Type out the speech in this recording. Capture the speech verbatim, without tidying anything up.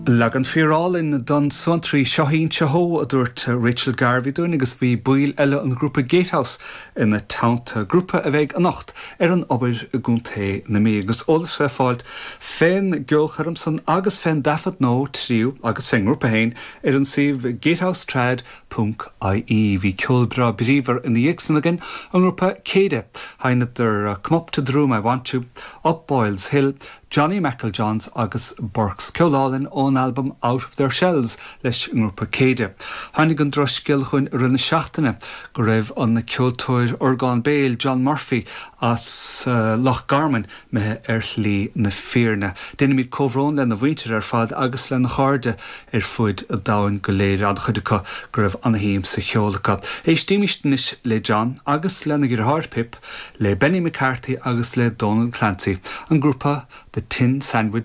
Leagan fíorálainn den Suantraí Seo Ho a dúirt Rachel Garvey dúinn agus bhí baill eile an grúpa Gatehouse ina teannta grúpa a bheidh anocht ar an Obair i gContae na Mí agus eolas le fáil fén gceolchoirm san agus fén dtaifead nó tríú agus fén ngrúpa féin ar an suíomh gatehousetrad ponc IE bhí ceol breá bríomhar ina dhiaidh san againn an grúpa Céide Sheinneadar Come up to the room I want to, Up Boyles Hill, Johnny McEljohns agus Burks ceol álainn ón album Out of Their Shells leis an ngrúpa Céide. Tháinig an drochscéal chugainn i rith na seachtaine go raibh an ceoltóir orgán béil John Murphy as uh, Loch Garman imithe ar shlí na fírinne. Déanaimid comhbhrón lena mhuintir ar fad agus lena chairde ar fud an domhain go léir an-chuid acu go raibh an-shuim sa cheol acu. Éistimid anois le John agus lena dheartháir Pip le Benny McCarthy agus le Donald Clancy, an grúpa The Tin Sandwich